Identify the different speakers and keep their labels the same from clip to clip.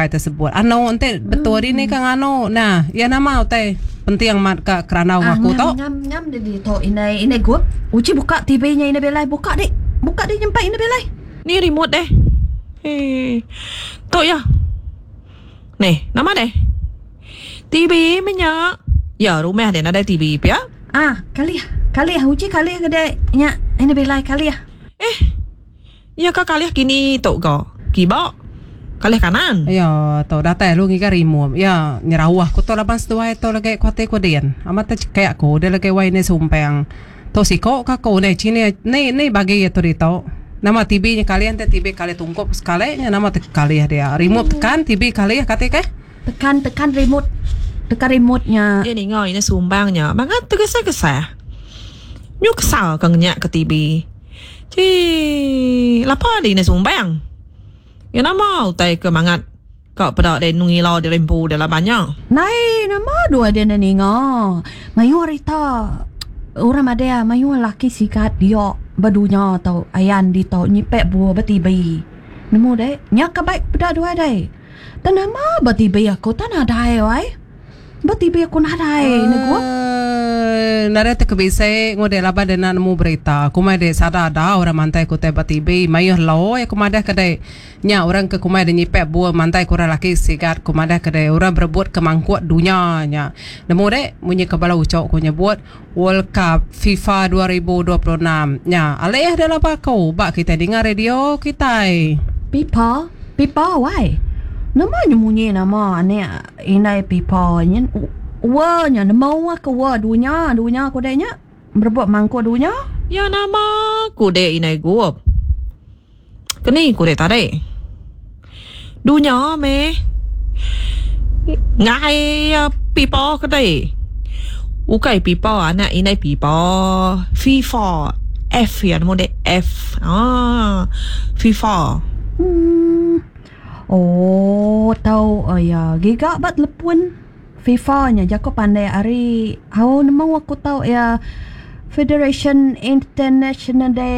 Speaker 1: bukai tersebut. Anu enti betul dini ka nganu nah iya nama utai penting amat ka kerandau enggau aku tu.
Speaker 2: Ngam ngam dia ditu indai indai gup. Uji buka TV nya indai Bilai buka dik. Buka dik nyempai indai Bilai.
Speaker 3: Ni remote deh. Hee. Tu iya. Neh, nama deh? TV meh nya. Ya, rumah deh nadai TV pia.
Speaker 2: Ah, kalih. Kalih uji kalih ke dek nya indai Bilai kalih.
Speaker 3: Eh. Iya ka kalih kini tu ga. Kiba. Kalih kanan.
Speaker 1: Iya tu datai lalu ngiga remote. Iya nyerauh ku tu laban seduai tu lagi ku ati ku din. Amat tecekik ku deh lagi wai indai sumpang. Tu siko ka aku neh cini ni ni bagi iya tu ditu. Nama TV nya kalih enti TV kalih tungkup sekali nya nama te kalih dia. Remote tekan TV kalih kati keh.
Speaker 2: Tekan tekan remote tekan remote nya.
Speaker 3: Iya ninga ina sumbang nya bangat tegesah-gesah. Nyu kesal ka ngenyak ke TV. Chii lapa dih ina sumbang. Iya nama utai ke mangat ka peda deh nyu ngila diri empu deh laban nya.
Speaker 2: Nai nama dua deh enda ninga. Mayuh rita orang madah mayuh laki sigat dia ba dunya tu ayan ditu nyipek buah ba TV. Nemu deh nya ka baik peda dua deh. Tang nama ba TV aku tang nadai wai. Ba TV aku nadai negu.
Speaker 1: Eee nadai te ke bisi ngudek laban dek enda nemu berita. Kumai dek sada ada orang mantai ke utai ba TV. Mayuh loi aku madah ke dek. Nya orang ke kumai dek nyipek bul mantai ke orang laki sigat ku madah ke dek orang berebut ke mangkuk dunya nya. Nemu dek munyi ke bala ucok ku nyebut World Cup FIFA 2026 nya. Alih dek laba aku ba kitai ninga radio kitai.
Speaker 2: Pipa pipa wai. Nama nya munyi nama anek Indai pipa nyin wa nya nemu aku wa dunya dunya ku dek nya berebut mangkuk dunya.
Speaker 3: Ya nama ku dek indai gup. Keni ku dek tadi. Dunya meh ngai pipa ke dek. Ukai pipa anak indai pipa FIFA F ya nemu dek F aaa FIFA.
Speaker 2: Uhh. Oh tau iya giga ba telepon FIFA nya jaku pandai ari au nemu aku tau iya Federation International de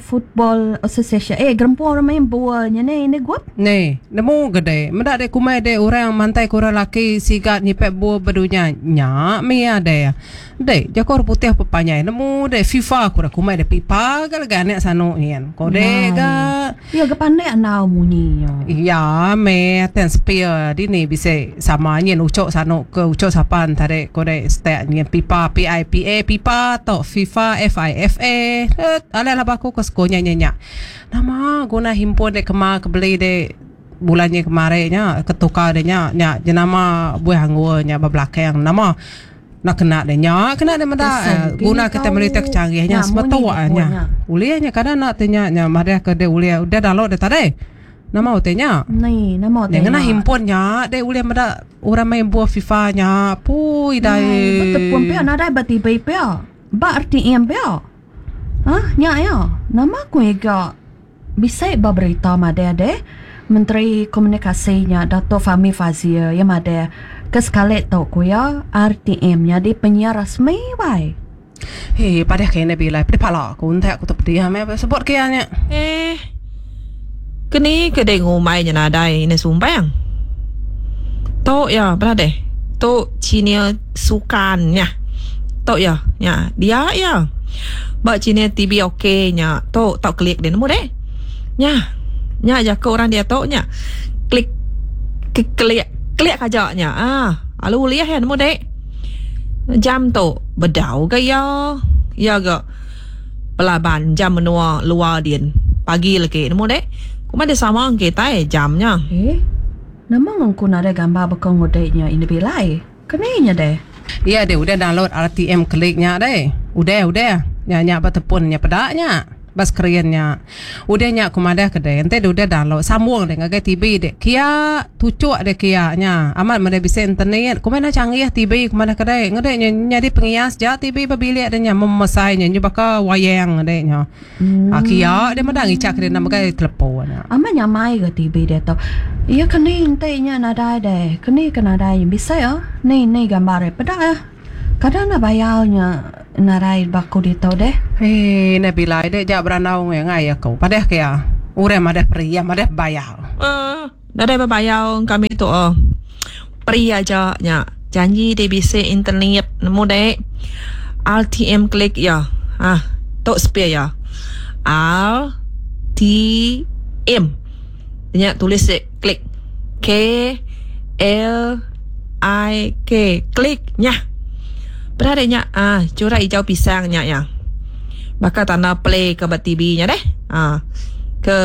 Speaker 2: Football Association eh gerempung orang main bol nya neh indi gup.
Speaker 1: Neh nemu ga deh meda deh kumbai deh orang mantai ke orang laki siga nyipek bol ba dunya nya mih iya deh. Deh, jaku orang putih pepanjai nemu deh FIFA ku dah kumbai deh pipa ga legi anak sanu nyin. Ko deh ga.
Speaker 2: Iya ga pandai andau munyi nya.
Speaker 1: Iya meh ten sepil dini bisi sama nyin uchu sanu ke uchu sapa tadi ko deh stek nyin pipa P-I-P-A pipa tu FIFA F-I-F-A. Eh alai laba aku ke sekul nya nya nya. Nama guna himpun deh kema ke beli deh bulan nyin kemari nya ke tukar deh nya nya jenama buih anggur nya ba belakang nama. Enda kena deh nya kena deh meda guna kita meli utai ke canggih nya sebetuk nya. Ulih nya kada enda ti nya nya madah ke deh ulih udah download deh tadi. Nama utai nya?
Speaker 2: Ni nama utai
Speaker 1: nya. Ngena handphone nya deh ulih meda orang main buah FIFA nya pui dai.
Speaker 2: Betepun pia nadai ba TV pia. Ba RTM pia. Hah nya iya. Nama ku iga Bisi ba berita madah deh, Menteri Komunikasi nya Datuk Fahmi Fadzil iya madah ke sekali tu ku iya RTM nyadi penyiar rasmi wai.
Speaker 1: Hee padah ke enda bilai pedih pala aku entak aku tu pedih meh sebut ke iya nya.
Speaker 3: Eh. Keni ke dek ngumbai nya nadai ina sumpang. Tu iya bala deh. Tu channel sukan nya. Tu iya nya dia iya. Ba channel TV ok nya tu tau klik deh nemu deh. Nya. Nya jaku orang diatu nya. Klik klik klik aja nya aaa lalu ulih iya nemu deh. Jam tu bedau ga iya. Iya ga belaban jam menua luar din pagi legi nemu deh. Kuma deh sama kitai jam nya.
Speaker 2: Eh. Nama ngengku nadai gambar baka ngudi nya indu bilai. Keni nya deh.
Speaker 1: Iya deh udah download RTM klik nya deh. Udah udah. Nya nya ba tepun nya peda nya. Ba skrin nya. Udah nya ku madah ke deh enti deh udah download sambung deh ngagai TV deh. Kia tuchuk deh kia nya. Amat meh deh bisi internet. Ku meh enda canggih TV ku madah ke deh. Ngedeh nya nyadi pengias ja TV ba bilik deh nya memesai nya nyu baka wayang ngedeh nya. Ha kia dia meda ngicha ke dina megai telepon.
Speaker 2: Amat nyamai ga TV diatu. Iya ke ni enti nya nadai deh. Ke ni ke nadai nya bisi ah. Ni ni gambar iya peda ah. Kada enda bayar nya nadai ba aku ditu deh.
Speaker 1: Hee neh bilai deh ja berandau ngai aku. Padah ke iya. Orang madah peri iya madah bayar.
Speaker 3: Eeh. Nadai bebayar kami tu oh. Free aja nya. Janji di bisi internet nemu dek. RTM klik ya. Ah, tu sepia ya. R T M. Nya tulis dek klik. K L I K klik nya. Peda dek nya ah corak hijau pisang nya ya. Baka tanda play ke ba TV nya deh. Ah ke.